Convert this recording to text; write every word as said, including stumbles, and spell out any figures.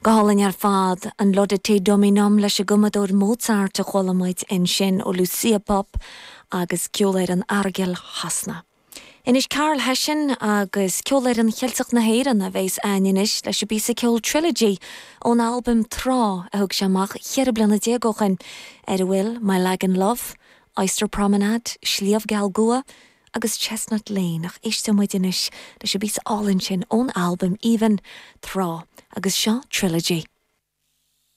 Go hálainn ar fad an Laudate Dominum leis an gcumadóir Mozart a chuala muid ansin ó Lucia Popp agus Ceolfhoireann Aireagail Shasana. Anois Karl Hession agus Ceolfhoireann Cheilteach na hÉireann a bheas againn anois leis an bpíosa ceoil Trilogy ón albam Trá a thug sé amach ceithre bliana déag ó shin ar a bhfuil My Lagan Love, Oyster Promenade, Sliabh Geal Gua, agus Chestnut Lane ach éisteann muid anois leis an bpíosa álainn sin ón albam aoibhinn Trá agus seo Trilogy.